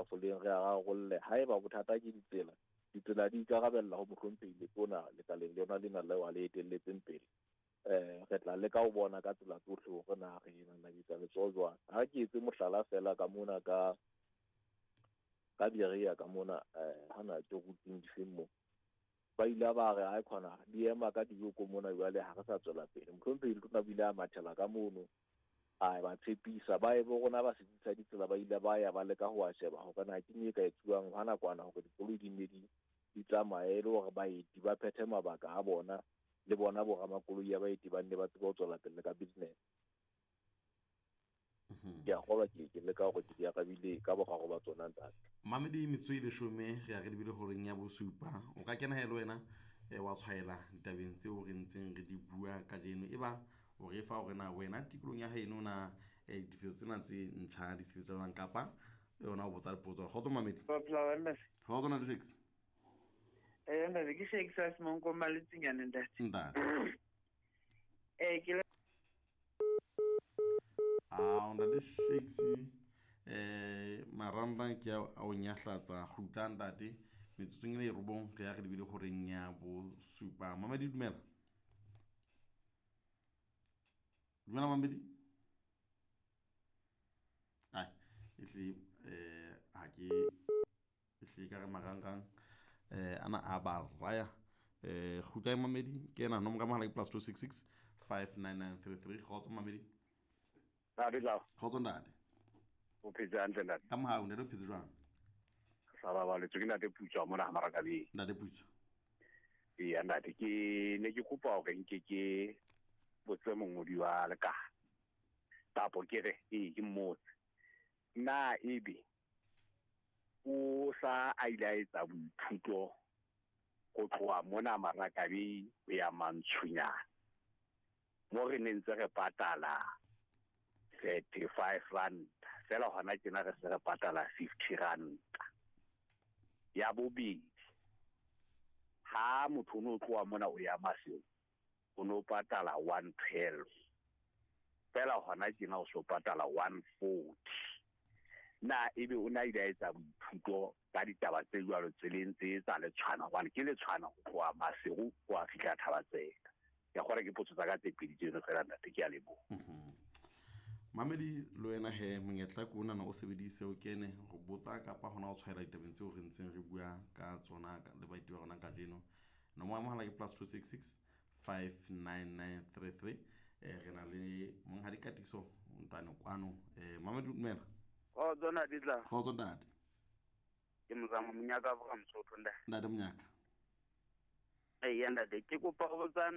tafoleng re a rarolle. Haeba bothata ke ditsela, ditsela di ikarabella ho mohlomphehi letona lekaleng lona lena leo a le etelletseng pele. Re tla leka ho bona ka tsela tsohle hore na re nanabetsa letsoho jwang. Ha ke etse mohlala feela ka mona ka Berea ka mona, hana ke routing difeng moo. Ba ile ba re ai khona di ema ka dijoko mona jwale ha re sa tswela pele. Mohlomphehi letona o ile a mathela ka mono, a ba tshepisa. Ba e bo rona ba setsi sa ditsela ba ile ba ya ba leka ho a sheba hore na ke eng e ka etsuwang hwa nakwana hore dikoloi di nne di tsamaye e le hore baeti ba phethe mabaka a bona, le bona bo ramakoloi ya baeti ba nne ba tsebe ho tswela pele ka business. Ke a kgolwa ke leka hore ke di arabile ka boraro ba tsona ntate. Mamedi metsotso e leshome re ya re lebile horeng ya bosupa. O ka kena he le wena wa tshwaela ditabeng tseo re ntseng re di bua kajeno. E ba o re fa hore na wena tikolong ya haeno na ditefiso tsena tse ntjha di sebetsa jwang, kapa yona o botsa dipotso. Kgotso Mamedi. Kgotso ntate Shakes. Ntate ke Shakes a Semonko Maletsinyane ntate. Ntate. Ke A ntate Shakes, marangrang ke a o nyahlatsa. Kgutla ntate metsotsong e le robong re ya re lebile horeng ya bosupa. Mamedi dumela. Dumela Mamedi. Ai ehle ha ke ehle ka re marangrang ana a ba raya. Kgutla Mamedi ke ena nomoro ya mohala ke +266 59933. Kgotso Mamedi. Ntate tla. Kgotso ntate. O phetse hantle ntate. Ka mohau ntate o phetse jwang? Sa ba baletswe ke ntate Putswa mona ha Marakabeng. Ntate Putswa. Eya ntate, ke ne ke kopa hore nke ke botse mongodi wa lekala. Kapo ke re, ee ke mmotse. Na ebe o sa a ile a etsa boithuto ho tloha mona Marakabeng ho ya Mantshunyana, mo re ne ntse re patala 35 rand fela, hona tjena re se re patala 50 rand. Ya bobedi, ha motho o no tloha mona o ya Maseru, o no patala 112 fela, hona tjena o so patala 140. Na ebe o na ile a etsa boithuto ka ditaba tse jwalo tseleng tse tsa letshwana, hobane ke letshwana ho tloha Maseru ho a fihla Thabatseka. Ke a kgolwa ke potso tsa ka tse pedi tseno fela ntate, ke a leboha. Mamedi le wena he monyetla ke ona o sebedise o kene ho botsa kapa hona o tshwaela ditabeng tseo re ntseng re bua ka tsona le baeti ba rona kajeno. Nomoro ya mohala ke +266 59933. Re na le monghadi Katiso Ntwane kwano. Mamedi dumela. Kgotso ntate tla. Kgotso ntate. Ke Mozamo Monyaka from Mosotho ntate. Ntate Monyaka. Eya ntate, ke kopa ho botsa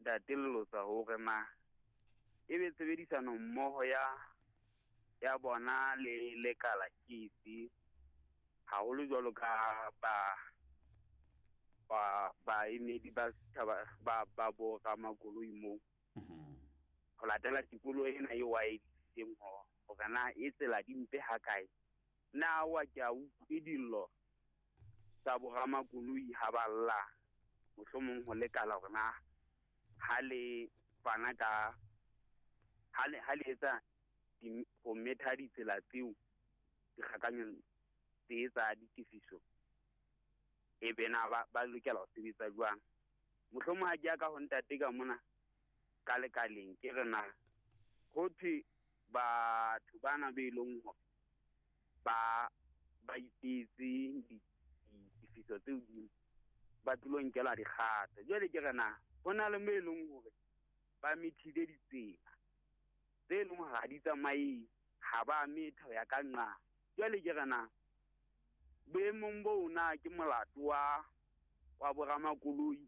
ntate Lelotsa hore na ebe tshebedisano mmoho ya bona le lekala ke efe, haholo jwalo ka ba baemedi ba setjhaba ba bo ramakoloi moo. Ho latela tikoloho ena eo a e disitseng hore na e tsela di mpe ha kae. Na wa ke a utlwe dillo tsa bo ramakoloi ha ba lla, mohlomong ho lekala hore na ha le fana ka ha le etsa ho metha ditsela tseo dikgakanyong tse tsa ditefiso, e be na ba lokela ho sebetsa jwang. Mohlomong ha ke ya ka ho ntate ka mona ka lekaleng, ke re na ho thwe batho bana be leng hore ba ipetse ditefiso tse hodimo ba tlilo nkelwa dikgato. Jwale ke re na ho na le mo e leng hore ba methile ditsela tse leng hore ha di tsamaye, ha ba metha ho ya ka nqa. Jwale ke re na boemong boo na ke molato wa boramakoloi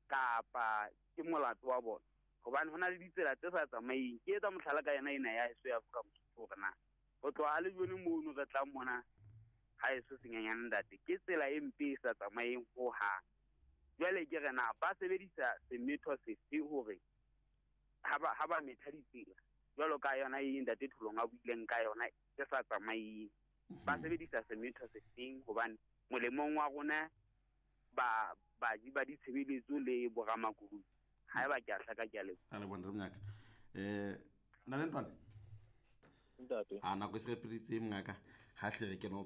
kapa ke molato wa bona? Hobane ho na le ditsela tse sa tsamaeng. Ke etsa mohlala ka yona ena ya heso ya Afrika Mosotho hore na ho tloha le jone mono re tlang mona ha heso senyenyane ntate, ke tsela e mpe e sa tsamaeng hohang. Jwale ke re na ba sebedisa semetho sefe hore ha ba metha ditsela jwalo ka yona e ntate Tholong a buileng ka yona e sa tsamaeng, ba sebedisa semetho sefeng? Hobane molemong wa rona ba baji ba ditshebeletso le boramakoloi. Haeba ke a hlaka, ke a leboha. A leboha ntate Monyaka. Ntate Ntwane. Ntate. A nako e se re feditse mongaka, ha hle re kene ho tsona.